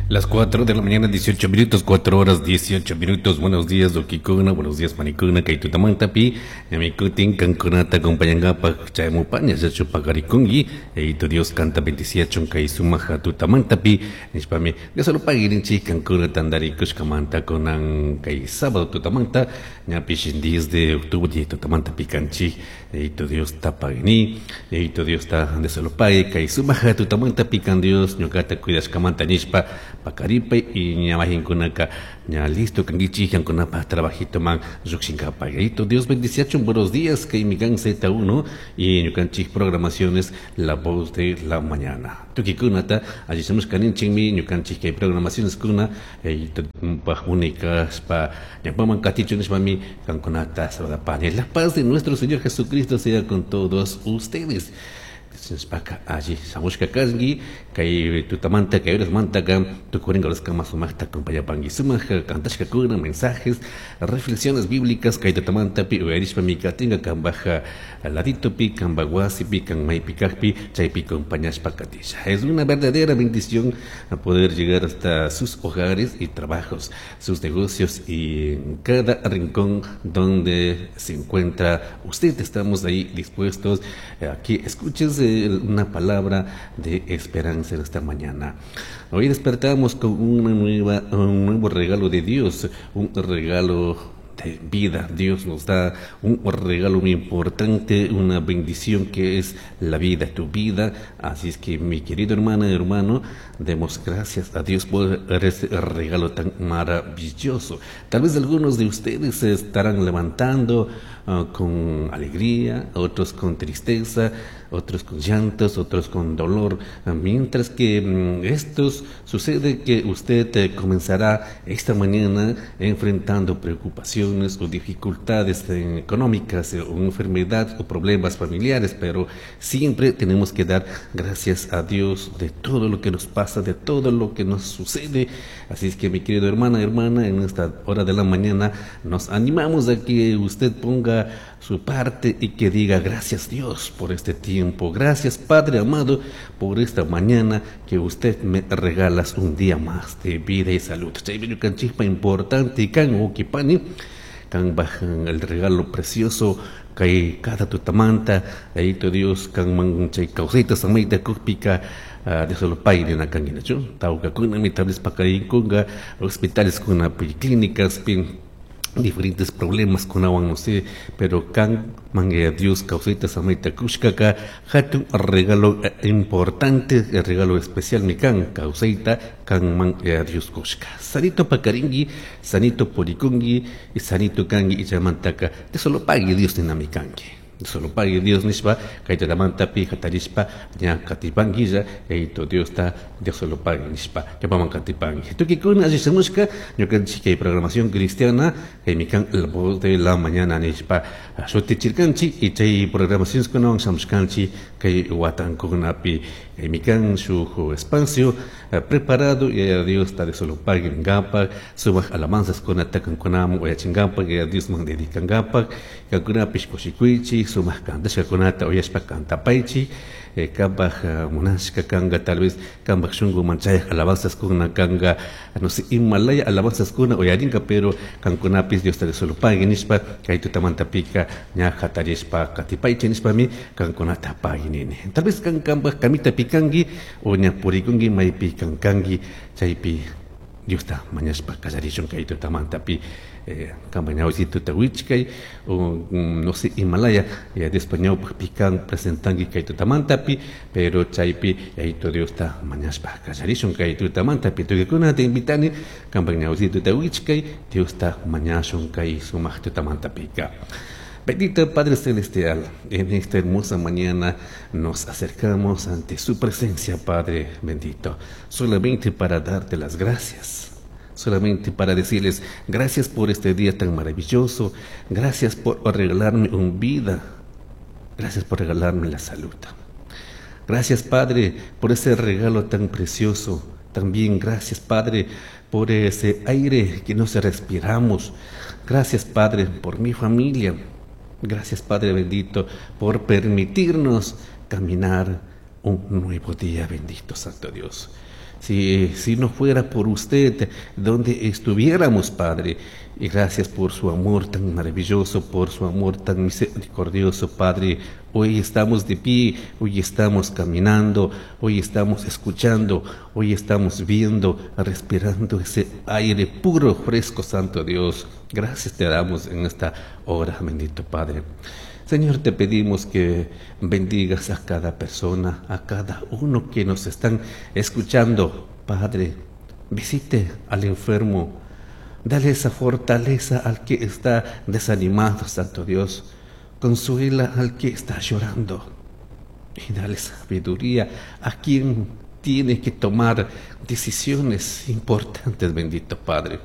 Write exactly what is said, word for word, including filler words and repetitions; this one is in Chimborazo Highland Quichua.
Las cuatro de la mañana, dieciocho minutos, cuatro horas dieciocho minutos. Buenos días, huauquicuna, buenos días, panicuna, kay tutamantapi, ñami cutin cankunata acompañangapaj chayamupaña, yachu paqarikunki, Yayitu Dios canta bendiciachun kay sumaja tutamantapi, nishpami, Dios lo pague rinchi cancuna tandarikushkamanta kunan kay sábado tutamanta, ñapish diez de octubre tutamantapi kanchi, Yayitu Dios ta pagni, Yayitu Dios ta Dios lo pague, kay sumaja tutamantapi kan Dios ñukata cuidashkamanta nishpa, pakaripay y ñamahinkunaka ña listo kankichik kankunapaj trabajito man llukshinkapaj. Yayitu Dios bendiciachun, buenos días, kay mikan Z uno y ñukanchik programaciones La Voz de la Mañana. Tukikunata allichamushka kaninchikmi ñukanchik kay programaciones kuna, Yayitu paj unikashpa ñawpaman katichun nishpami kankunata saludapani. La paz de nuestro Señor Jesucristo sea con todos ustedes. Nishpaka alli shamushka kanki kay tutamanta kay horasmantaka tukurinka horaskamá sumaqta acompañapanki sumaq kantashkakuna mensajes reflexiones bíblicas kay tutamantapi uyarishpami katinka kanpaj laditopi kanpaj wasipi kan maypi kajpi chaypi acompañashpa katisha. Es una verdadera bendición poder llegar hasta sus hogares y trabajos, sus negocios y en cada rincón donde se encuentra usted. Estamos ahí dispuestos. Aquí escuches una palabra de esperanza en esta mañana. Hoy despertamos con una nueva, un nuevo regalo de Dios, un regalo de vida. Dios nos da un regalo muy importante, una bendición que es la vida, tu vida. Así es que, mi querido hermana y hermano, demos gracias a Dios por ese regalo tan maravilloso. Tal vez algunos de ustedes se estarán levantando, uh, con alegría, otros con tristeza, otros con llantos, otros con dolor, mientras que, mm, estos sucede que usted, eh, comenzará esta mañana enfrentando preocupaciones o dificultades, eh, económicas, eh, o enfermedad o problemas familiares, pero siempre tenemos que dar gracias a Dios de todo lo que nos pasa, de todo lo que nos sucede. Así es que, mi querido hermana, hermana, en esta hora de la mañana nos animamos a que usted ponga su parte y que diga gracias Dios por este tiempo, gracias Padre amado por esta mañana que usted me regalas un día más de vida y salud. Chaymi ñukanchikpa importante kan huauquipani, kan bajan el regalo precioso kay cada tutamanta, Yayitu Dios kan man chay kawsayta samayta kukpika, ah, Dios lo pague na kanginachu tawkakuna mi tal vez pakarinkunga hospitales kuna clínicas pin diferentes problemas kunawan, no sé, pero kan mangue a Dios kawsayta samayta kushkaka hatun regalo, eh, importante, el regalo especial mi kan kawsayta kan man a Dios kushka. Sanito pakaringi, sanito purikungi, y sanito kangi ichamantaka, te solo pague Dios ni mi kangi. Solo pague Dios nishpa, kay tatamantapi hatarishpa, ña katipanguilla, eito Dios ta, Dios solo pague nishpa, ñapaman katipangui. Tukikuna allishamushka, ñukanchik kay programación cristiana, kay mikan La Voz de la Mañana nishpa, shutichirkanchik, y chay programación kunawan shamushkanchik, kay watankunapi, kay mikan shuj espacio, eh, preparado, y a Dios ta de solo pague ngapa, sumaq alabanzas kunata kankunaman uyachingapak, y a Dios man dedicangapak, kankunapish kushikuychik, sumaq kantashkakunata uyashpa kantapaychik, eh, kanpaj, eh, munashka kanga, tal vez kanpaj shunkuman chayaj alabanzas kuna kanga, no sé, Himalaya alabanzas kuna uyarinka, pero kankunapis Dios ta de solo pague nishpa, kay tutamantapika ña hatarishpa katipaychik nishpami kankunata pague nini. Tal vez kan kanpaj kamita pikanki o ña purikunki maypi kankanki, chaypi Diosta mañashpa kallarishun kay tutamantapi, eh, kanpa ñawisituta wichkay, o, mm, no sé, Himalaya, ya después ñawpaj pikan presentanki kay tutamantapi, pero chaypi Yayitu Diosta mañashpa kallarishun kay tutamantapi. Tukikuna te invitani, kanpa ñawisituta wichkay, Diosta mañashun kay sumaq tutamantapika. Bendito Padre Celestial, en esta hermosa mañana nos acercamos ante su presencia, Padre bendito, solamente para darte las gracias, solamente para decirles gracias por este día tan maravilloso, gracias por regalarme una vida, gracias por regalarme la salud. Gracias, Padre, por ese regalo tan precioso. También gracias, Padre, por ese aire que nos respiramos. Gracias, Padre, por mi familia. Gracias, Padre bendito, por permitirnos caminar un nuevo día, bendito Santo Dios. Si, si no fuera por usted, donde estuviéramos, Padre. Y gracias por su amor tan maravilloso, por su amor tan misericordioso, Padre. Hoy estamos de pie, hoy estamos caminando, hoy estamos escuchando, hoy estamos viendo, respirando ese aire puro, fresco, Santo Dios. Gracias te damos en esta hora, bendito Padre. Señor, te pedimos que bendigas a cada persona, a cada uno que nos están escuchando. Padre, visite al enfermo, dale esa fortaleza al que está desanimado, Santo Dios. Consuela al que está llorando y dale sabiduría a quien tiene que tomar decisiones importantes, bendito Padre.